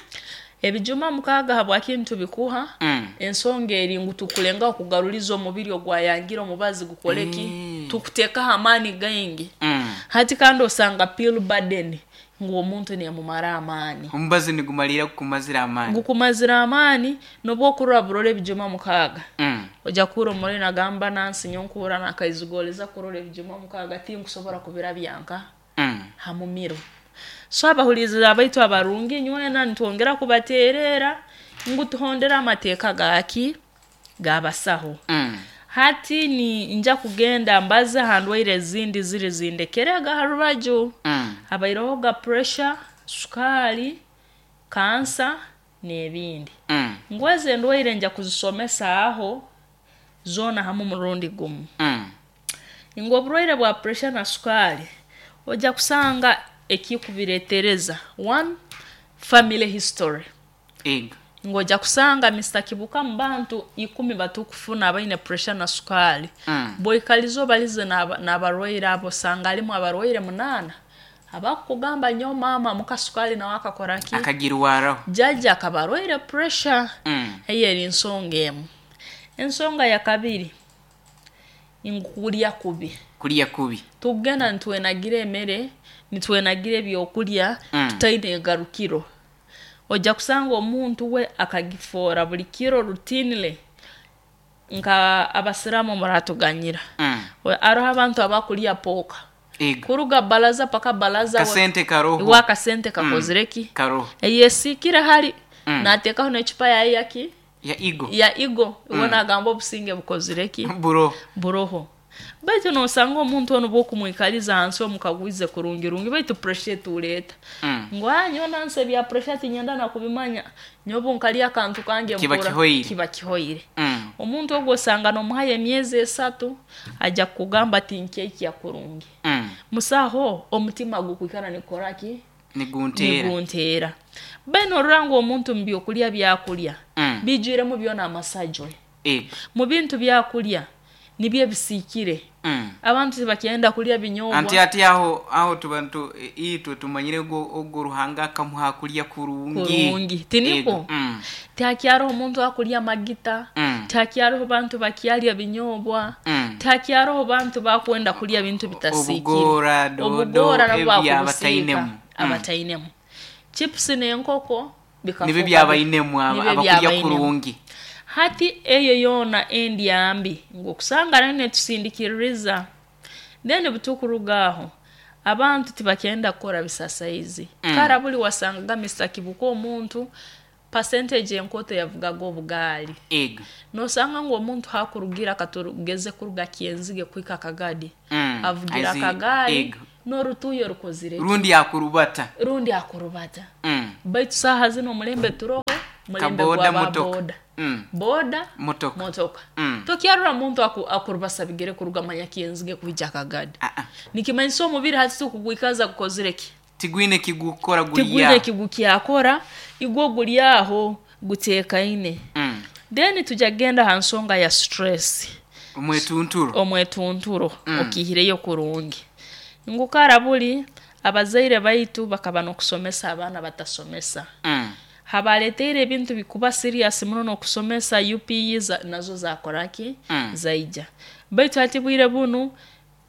Ebijuma mukaaga habwaki ntubikuha? Mm. Ensonga eri ngu tukulenga okugaruliza omubiri ogwayangira omubazi gukoleki? Mm. Tukutekaho amaani gaingi. Mm. Hati kandi osanga pill burden ngu omuntu nemumara amaani. Omubazi nigumalira kukumazira amaani. Gukumazira amaani nobwo okurora burora ebijuma mukaaga. Mm. Ojja kuhurra omurwaire nagamba nansi nyonkura nakaizigoleza kurora ebijuma mukaaga tinkusobora kubira byanka. Mm. Hamumiro. So abahuliriza abaitu abarungi nywena nitwongera kubaterera ngu tuhondera amateeka gaki gabasaho. Mm. Hati ni nja kugenda mbaze handwaire ezindi ziri zindekerega harubaju. Mm. Abairoho ga pressure, sukali, kansa n'ebindi. Mm. Ngweze endwaire nja kuzisomesa aho zona hamu murundi gumu. Mm. Ngo oburwaire bwa pressure na sukali ojja kusanga ekikubiretereza. One, family history. Ego. Ngoja kusanga Mister Kibuka mbantu ikumi batukufuna abaine pressure na sukali. Mm. Boikalizo balize n'abarwaire abo sanga alimu abarwaire munana. Abakugamba nyo mama muka sukali na wakakora ki? Akagirwaraho. Jaja akabarwaire pressure. Mm. Eyo eri nsonga emu. Ensonga ya kabiri ingukulya kubi. Kulya kubi. Tugenda nitwenagira emere, nitwenagira ebyokulya, Mm. tutaine egarukiro. Ojja kusanga omuntu we akagifora buli kiro routinely nka abasiramu muratuganyira. Mm. Aroho abantu abakulya poka. Ego. Kuruga balaza paka balaza kasente karoho. Wa kasente kakozireki. Mm. Karoho. Eyesikira hali mm. natekaho n'echupa ya yaki ya igo. Ya igo. Mm. Ubona agamba obusinge bukozireki. Buroho. Buroho. Baitu nosanga omuntu ono bwokumwikaliza hansi omukagwize kurungi rungi baitu pressure tuleta. Mm. Ngwa nyona nse bya pressure tinyenda na kubimanya nyobo nkalya akantu kange kiba kihoire. Kiba kihoire. Mm. Omuntu ogwo osanga nomuhaye emyezi esatu aja kugamba tinkeki ya kurungi. Mm. Musaho omutima gukwikana nikoraki? Niguntera. Niguntera. Beno rurango omuntu mbyokulya byakulya. Mm. Bijwiremu byona amasajwe. E. Mu bintu byakulya nibye bisikire. Mm. Abantu tibakyenda kulya binyobwa. Anti ati aho aho tubantu itwe tumanyire go ogo Ruhanga akamuha kulya kurungi. Kurungi. Tiniko. Mm. Takyaro omuntu akulya magita. Mm. Takyaro bantu bakyalya binyobwa. Mm. Takyaro bantu bakwenda kulya bintu bitasikire. Obugora dodo Obugora ebya abatainemu. Abatainemu. Chips n'enkoko bikafuka. Nibyo byabainemu abakulya kurungi. Hati eyo yona endi ambi ngokusanga nene tusindikiriza then butukurugaho abantu tibakyenda kukora bisasaizi. Mm. Kara buli wasangaga Mister Kibuka omuntu percentage enkoto yavugaga obugali. Ego. Nosanga ngo omuntu hakurugira katurugeze kuruga Kyenzige kwika Kagadi. Mm. Avugira Kagadi n'orutuyo rukozire. Rundi akurubata. Rundi akurubata. Mm. Baitu saha zino mulembe turoho mulembe Kaboda, gwa motoka. boda. Mm. Boda motoka. Motoka. Mm. Tokyarura muntu aku, akurubasa bigere kuruga manya Kyenzige kwija Kagadi. Ah -ah. Nikimanyisa omubiri hati tukugwikaza kukozireki. Tigwine kigukora guliya. Tigwine kigukyakora igwo gulyaho gutekaine. Mm. Then tujagenda ha nsonga ya stress. Omwetunturo. Omwetunturo Mm. okihireyo kurungi. Ngukara buli abazaire baitu bakaba nokusomesa abaana batasomesa. Mm. Habaleteire ebintu bikuba serious muno n'okusomesa U P E za, nazo zakoraki mm. zaija. Baitu hati bwire bunu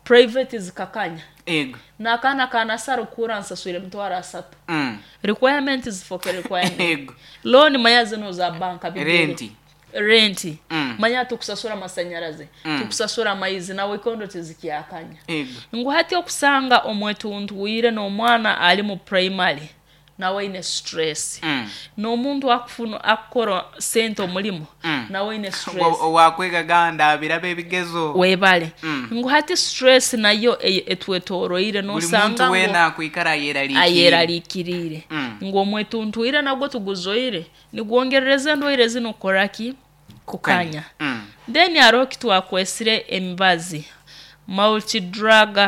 private zikakanya. Ego. N'akaana kanasara okura nsaswire emitwaro asatu. Mm. Requirement zifoke requirement. Ego. Loan manya zino za banka bigere. Renti. Renti. Mm. Manya tukusasura masanyaraze, mm. tukusasura amaizi nawe kondo tizikiyakanya. Ego. Ngu hati okusanga omwetuntuire n'omwana ali mu primary nawe ine stress. Mm. N'omuntu akufuna akukora sente omulimu mm. nawe ine stress. Owakwega ganda birabe ebigezo. Webale. Mm. Ngu hati stress nayo etwetoroire nosanga buli muntu wena akwikara ayeraliikirire. Ayeraliikirire. Mm. Ngu omwetuntuire nagwo tuguzoire nigwongerereza endwaire zino koraki kukanya. Mm. Then hariho kitwakwesire emibazi multi drug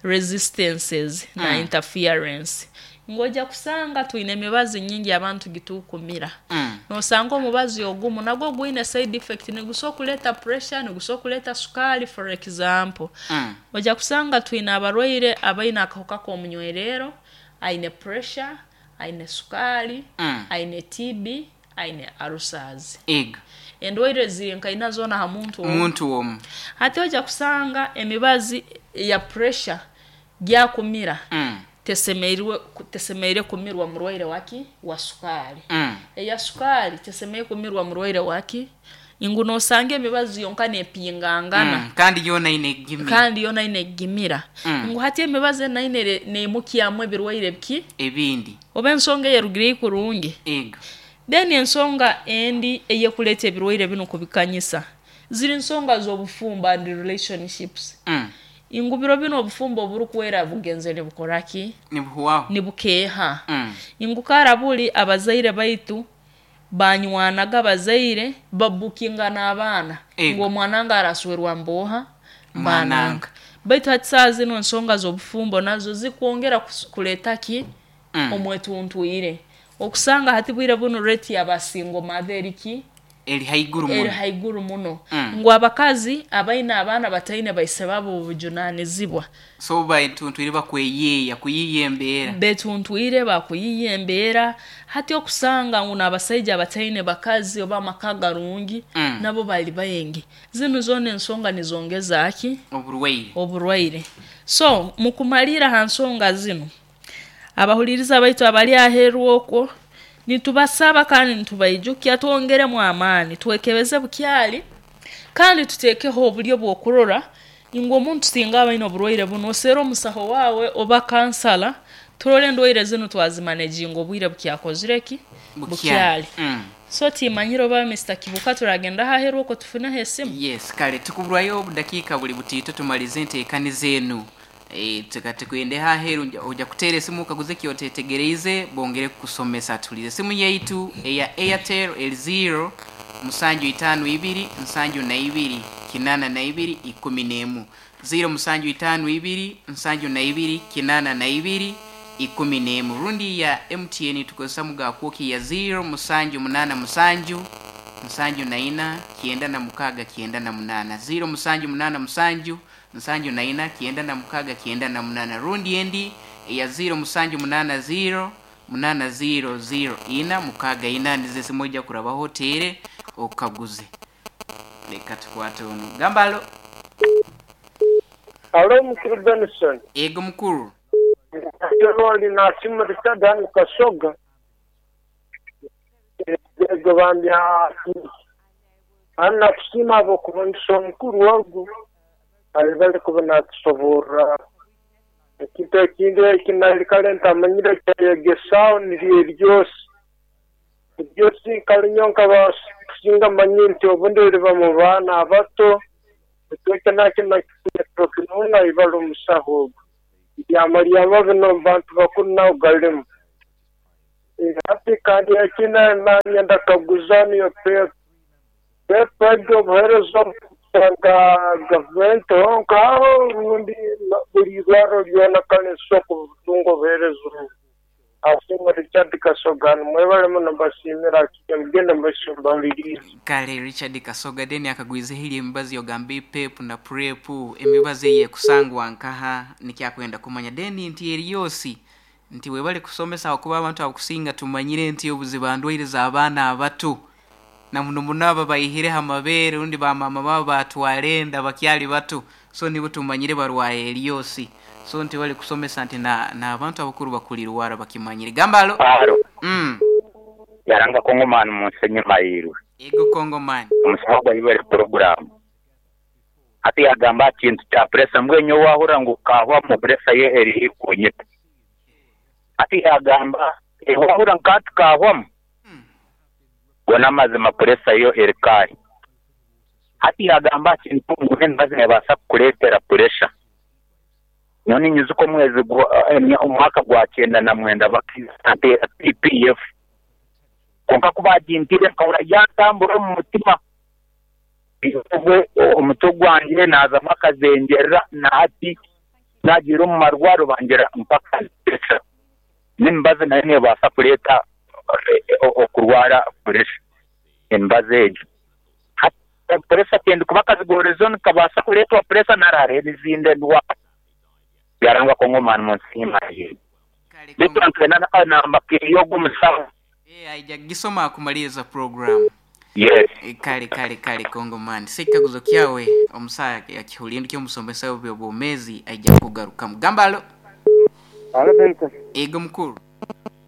resistances mm. na interference. Ngoja kusanga twine emibazi nyingi abantu gitukumira. Mm. Nosanga omubazi ogumu nagwo gwine side effect niguso kuleta pressure, niguso kuleta sukali for example. Mm. Oja kusanga twine abarwaire abaine akahuka k'omunywerero, aine pressure, aine sukali, mm. aine T B, aine ulcers. Ego. Endwaire ziri nkaina zona ha muntu omu. Muntu omu. Hati oja kusanga emibazi ya pressure gyakumira. Mm. Tesemeirwe tesemeire kumirwa murwaire waki wa sukali. Mm. Eya sukali tesemeire kumirwa murwaire waki ingu nosange emibazi yonka nepingangana. Mm. Kandi yona inegimira. Kandi yona inegimira. Mm. Ngu hati emibazi naine neimukyamu ebirwaire biki ebindi. Oba ensonga eyerugire kurungi. Ego. Then ensonga endi eyekuleta ebirwaire bino kubikanyisa ziri nsonga z'obufumbo and relationships. Mm. Ingubiro bino obufumbo oburukwera bugenze nibukoraki nibuhuwaho nibukeha. Mm. Ingukara buli abazaire baitu banywanaga abazaire babukingana abaana ngo omwana araswerwa mboha mbananga. Baitu hati saa zino ensonga z'obufumbo nazo zikwongera kuleta ki mm. omwetuntuire. Okusanga hati bwire buno rate y'abasingo mother ki eri haiguru muno. Eri haiguru muno. Mm. Ngu abakazi abaina abaana bataine baise babo obujunanizibwa. So baituntwire bakweyeya kuyiya embeera. Betuntwire bakuyiya embeera. Hati okusanga ngu n'abasaija bataine bakazi oba amaka garungi mm. nabo bali bayengi. Zino zona ensonga nizongeza ki oburwaire. Oburwaire. So mukumalira ha nsonga zino abahuliriza baitu abali aheru okwo nitubasaba kandi nitubaijukia twongeremu amaani twekebeze bukyali kandi tutekeho obulyo bw'okurora ingu omuntu singa abaine oburwaire buno osera omusaho wawe oba kansala turole endwaire zino twazimanejinga obwire bukyakozire ki bukyali. Mm. So timanyire oba Mister Kibuka turagenda aheru okwo tufuneho esimu. Yes, kale tukuburwayo obudakiika buli butiito tumalize enteekaniza enu. E, tukatekwende haheru oja kuteera esimu okaguze kyotetegereize bongere kukusomesa. Tulize simu yaitu eya Airtel eri zero musanju itano ibiri nsanju na ibiri kinana na ibiri ikumi n'emu zero musanju itano ibiri nsanju na ibiri kinana na ibiri ikumi n'emu. Rundi ya M T N tukozesa mugakwoki ya zero musanju munana musanju nsanju na ina kienda na mukaga kienda na munana zero musanju munana musanju nsanju na ina kienda na mukaga kienda na munana. Rundi endi ya zero musanju munana zero munana zero zero ina mukaga ina ndize simoja kurabaho tere okaguze. Leka tukwate ono gambalo. Alo mukuru Benson. Ego mukuru. Alo na simu Richard hano Kasoga. Ego bambya ana kusima abo kubonisa omukuru wagu alibali kuba natusoborra ekintu ekindi ekinali ntamanyire kyayegesaaho niryo eryosi eryosi nkalinyo nkabasinga manyi nti obundi riba mu baana abato ekyo nakyo nakikinuna ibali omusaho ogwo ebyamaryama bino mu bantu bakuru nawe galimu. Hati kandi ekina nanyenda kaguza niyo pepe pepe egyo obuheereza nka gavumenti honkaho rundi buli irwaro ryona kale nsoko butunga obuheereza obu. Asinga Richard Kasoga mwebale muno mbasiimira mugende mbasumbalirize. Kale Richard Kasoga deni akagwize hili emibazi yogambe pep na prep emibazi eyekusangwa nkaha nikyakwenda kumanya deni nti eryosi Nti webale kusomesa akuba abantu abakusinga tumanyire nti obuzibu ndwaire z'abaana abato. Na muno muno aba baihire amabeere rundi bamama babo batwalenda bakyali bato. So nibo tumanyire barwaye eryosi. So nti bali kusomesa nti na n'abantu abakuru bakulirwara bakimanyire. Gambalo. Aro. Mm. Yaranga Kongomani munsenye mayiru. Ego Kongomani. Omusawo gwa program. Ati yagamba kintu kya presa mbwenyo wahura ngu kahwa mu presa ye eri kunyita. Ati yagamba wahura nkati kahwa mu. Mm. Gona mazima presa yo erikari. Ati yagamba kintu ngene bazine basa kuletera pressure. Noni nyuzuko mwezi omwaka gwa kyenda na mwenda bakizatera P P F. Konka kubagintire nkahura yatambura mu mutima. Ubwe omutwe gwanjye naza makazengerera nati nagira mu marwaro bangira mpaka pressure. Nimbaze nayo nebasa kuleta okurwara pressure. Embaze ejo. Pressure tende kubakazigorezon kabasa kuletwa pressure narare n'izindi ndwara. Yaranga Kongomani munsi mayi. Kale Bitu na na makiriyo gumusawo. Eh haijagisoma kumaliza program. Yes. E, kale kale kale Kongomani. Sikaguzo kyawe omusaya akihulindu kyo musomesa obyobomezi aija kugaruka mugambalo. Alo Benson. Ego mukuru.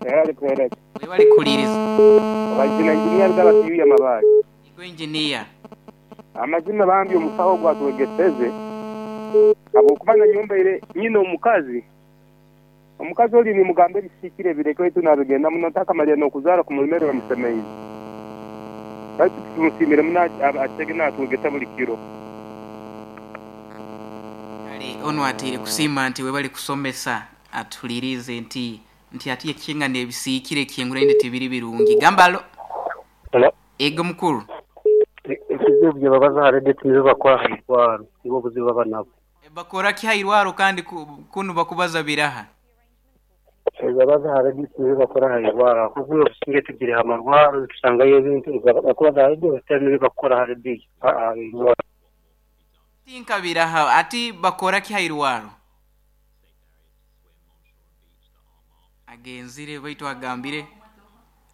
Yali kweleka. Webali kuliriza. Wajina engineer gaba kiyuya mabali. Ego engineer. Amazima bambi omusawo gwatwegeseze. Abokubanga nyumba ile nyina omukazi. Omukazi oli ni mugambe bisikire bireke wetu nabigenda muno takamalya nokuzara kumulimero bamusemeize. Basi tumusimire muna achege natwegesa buli kiro. Kale ono atire kusima nti webali kusomesa atulirize nti nti atiye kinga nebisikire kiyengura inde tibiri birungi. Gambalo. Hello. Ego mukuru. Ekizibu bye babaza harede tinibo bakora hairwaro nibo buzibu baba nabo. Bakora ki hairwaro kandi kunu bakubaza biraha. Babaza harede tinibo bakora hairwaro kuko businge tugire hamarwaro tusangayo ebintu bakubaza harede tinibo bakora harede hairwaro. Tinka biraha ati bakora ki hairwaro. Agenzire baitu agambire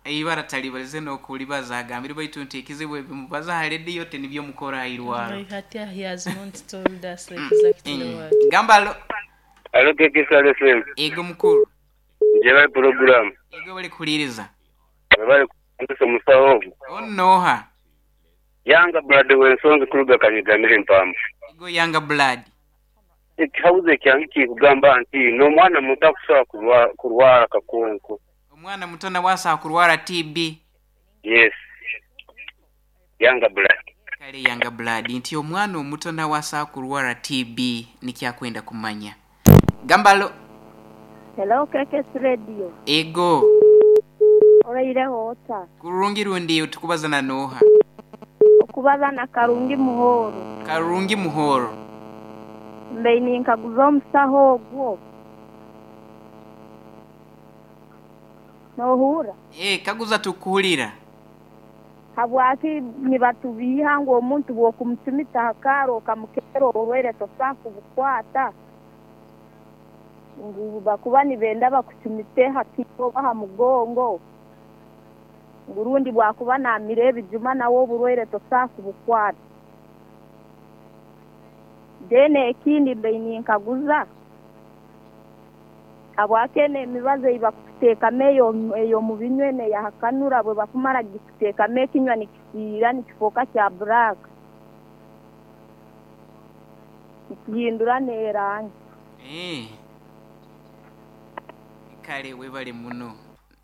ibara talibalize no kulibaza agambire baitu nti ekizibu ebimubaza harede yote nibyo mukora hairwaro. No, he has not told us exactly mm. what. Gambalo. Alo kekesa lesen. Ego mukuru. Njeba program. Ego bali kuliriza. Bali kusa musawo. Onoha. Yanga blood wensonzi kuruga kanyigamire mpamvu. Ego yanga blood. Ekihauze kyangi kugamba nti no mwana muto akusobola kurwara kurwara kakonko. Omwana muto nawe asobola kurwara T B. Yes. Yanga blood. Kale yanga blood nti omwana omuto nawe asobola kurwara T B nikyakwenda kumanya. Gambalo. Hello K K S Radio. Ego. Oraire hota. Kurungi rundi utukubazana noha. Okubazana Karungi Muhoro. Karungi Muhoro. Mbeini nkaguza omusaho ogwo. Nohura. Eh kaguza tukuhulira. Habwaki nibatubiha ngu omuntu bw'okumucumita hakaro okamukero orwaire tosa kubukwata. Ngu bakuba nibenda bakucumite hakiko baha mugongo. Ngurundi bwakuba namire ebijuma nawo oburwaire tosa kubukwata. Dene ekindi mbeini nkaguza. Habwake emibazo ibakuteeka eyo eyo mu binywe ne yahakanura bwe bakumara gikuteeka ekinywa nikisiira nikifoka kya black. Nikihindura n'erangi. Eh. Kale webale muno.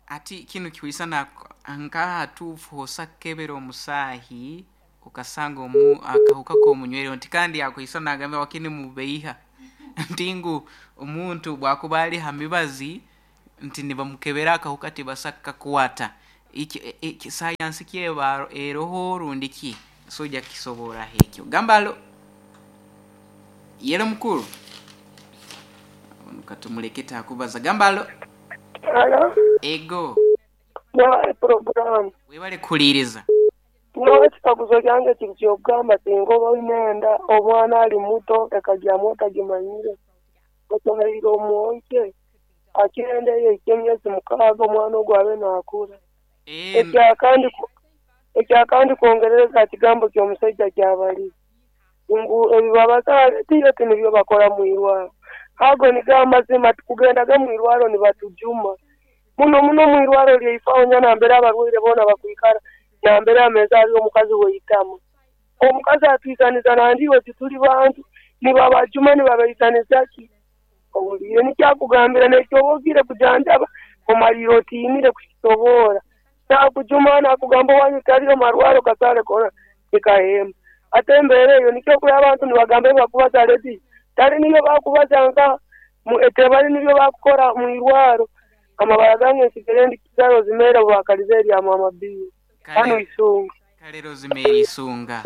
Ati kinu kiwisana nkaha tufu hosakebera omusahi ukasanga omu akahuka ko munywero nti kandi akuisana agambe wakini mubeiha. Ntingu omuntu bwakuba ali hamibazi nti nibamukebera akahuka tibasaka kuwata. Iki, iki science kyeba eroho rundi ki soja kisobora hekyo. Gambalo. Yero mukuru. Katumuleketa akubaza gambalo. Alo. Ego. Na program. Webale kuliriza. No ekikaguzo kyange kiri ky'okugamba singa oba oine omwana ali muto ekajyamu otagimanyire otoheire omwonke Akirenda eyo emyezi mukaaga omwana ogwo abe naakura. Eh, Ekyakandi ekyakandi kwongerereza kigambo ky'omusajja kyabali ngu ebibabazaale tiyo tinibyo bakora mu irwaro. Ago nigo amazima tukugendaga mu irwaro nibatujuma muno muno mu irwaro lyaifaho nya nambere abarwaire boona bakwikara nambere ameza ari omukazi weitama omukazi atwisaniza nandiwe tituli bantu nibabajuma nibabaisaniza ki owulire nikyakugambira nekyobogire kujanjaba omalire otiinire kukisoboora nakujuma nakugamba wanyu taliyo marwaro kasale kona nikahema ate embeera eyo nikyo kuri abantu nibagamba bakubaza ledi tali niyo bakubaza nka mu- tebali nibyo bakukora mu irwaro amabara gange nsigere ndi kizaro zimera bwakalize erya mama biyo hano kale isunga kale Rosemary Isunga.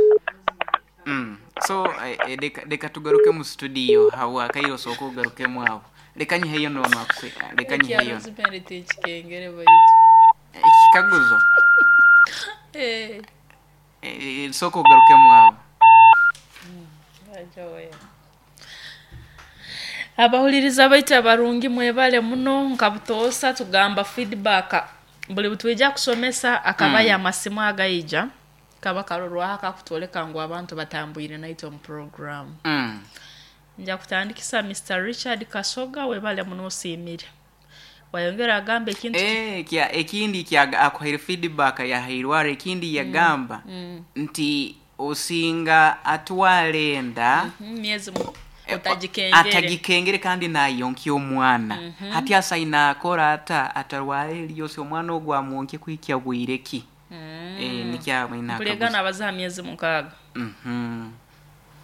Mm. So eh, eh, leka leka tugaruke mu studio hawa kairo soko ugarukemu abo. Leka nyiheyo nono akwe. Leka Ekya nyiheyo. Rosemary tikikengere baitu. Ekikaguzo. Eh, Eh, eh, soko ugarukemu abo. aja we. Abahuliriza baitu abarungi mwebale muno nka butoosa tugamba feedback buli butwija kusomesa akabaya Mm. amasimu agaija kaba karorwaho akakutwoleka ngu abantu batambwire naitwe omu program. Mm. Nja kutandikisa Mister Richard Kasoga webale muno osiimire. Wayongera agamba ekintu ki- Eh, kya ekindi kya akuhaire feedback ya hairwara ekindi yagamba mm. nti osinga atwala enda mm, myezi mu- eh, otagikengere atagikengere kandi nayonkya omwana hati asaina akora ata atarwara eryose omwana ogwo amwonkye kuhikya bwire ki. Eh, nikyamwina mpulega akaguzo. nabazaha myezi mukaaga. Mhm.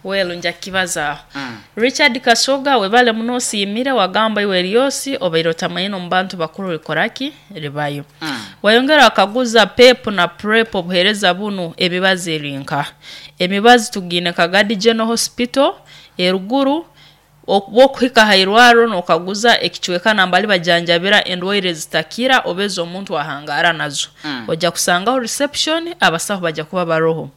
Welu nja kukibazaaho. Mm. Richard Kasoga webale muno osiimire wagamba iwe eryosi obaire otamanyine omu bantu bakuru rikoraki ribayo. Mm. Wayongera akaguza PEP na PrEP obuheereza bunu emibazi eri nka emibazi tugiine Kagadi General Hospital eruguru bwokuhika hairwaro nokaguza ekicweka nambali bajanjabira endwaire zitakira oba ez'omuntu ahangara nazo. Mm. Ojja kusangaho reception abasaho bajja kuba baroho.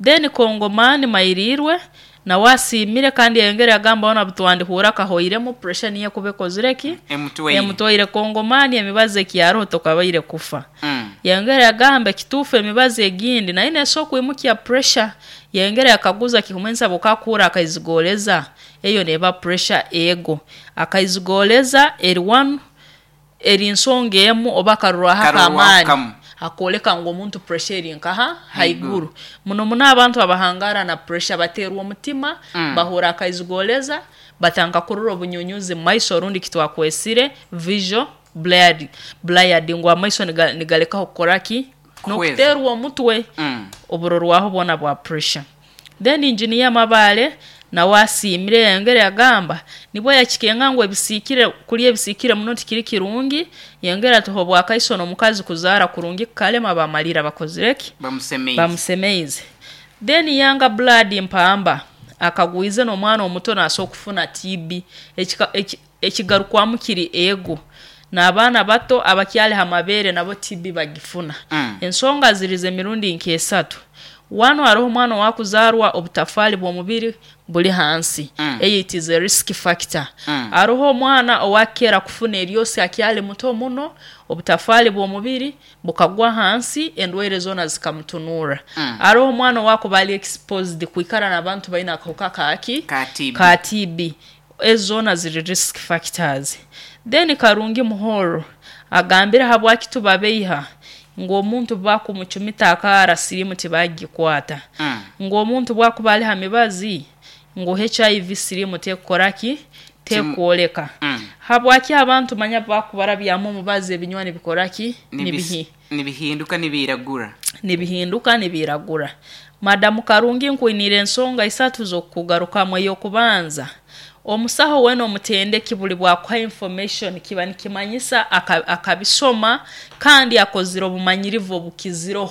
Then Kongomani Mairirwe nawe asiimire kandi yayongera agamba ona butwandihura kahoiremu pressure niye kuba ekozire ki Emutwaire. Emutwaire. Kongomani emibazi ekiyaroho tokabaire kufa. Mm. Yayongera yagamba ekituufu emibazi egindi naye nesobola kwimukya pressure. Yayongera yakaguza kikumensa bukakura akaizigoleza eyo neba pressure ego akaizigoleza eri one eri nsonga emu oba akarurwaho Karurwaho akamaani kamu. akoleka ngu omuntu pressure eri nkaha Haiguru. haiguru muno muno abantu abahangara na pressure baterwa omutima Mm. bahura akaizigoleza batanga kurura obunyunyuzi mu maiso orundi kitwakwesire visual blurred blurred ngu amaiso niga- nigalekaho kukoraki Kuhweza. nokuterwa omutwe Mm. oburorwaho bwona bwa pressure. Then engineer Mabale nawe asiimire yayongera yagamba nibwo yakikenga ngu ebisiikire kulya ebisiikire muno tikiri kirungi. Yongera ati obwakaiso n'omukazi kuzaara kurungi kukalema bamalira bakozireki Bamusemeize. Bamusemeize. Then Yanga Blood Mpamba akagwize n'omwana omuto nasobola okufuna T B. Ekika- eki- ekigarukwamu kiri ego n'abaana bato abakyali ha mabeere nabo T B bagifuna. Mm. Ensonga ziriza emirundi nk'esatu. Wano hariho omwana owakuzaarwa obutafaali bw'omubiri buli hansi. Mm. Eyo it is a risk factor. Mm. Hariho omwana owakera kufuna eryosi akyali muto muno obutafaali bw'omubiri bukagwa hansi endwaire zoona zikamutunura. Mm. Hariho omwana owakuba ali exposed kwikara n'abantu baine akahuka kaki Ka T B. Ka T B. Ezo zoona ziri risk factors. Then Karungi Muhoro agambire habwaki tubabeiha ngu omuntu bakumucumita akaara sirimu tibagikwata. Mm. Ngu omuntu bwakuba ali ha mibazi ngu H I V sirimu tekukoraki tekwoleka. Mm. Habwaki abantu manya bakubarabyamu omubazi ebinywani bikoraki Nibis- nibihi nibihinduka nibiragura. Nibihinduka nibiragura. Madamu Karungi nkwinire ensonga isatu z'okugarukamu. Ey'okubanza omusaho wena omutendeki buli bwakuha information kiba nikimanyisa aka- akabisoma kandi akozire obumanyirivu obukizireho.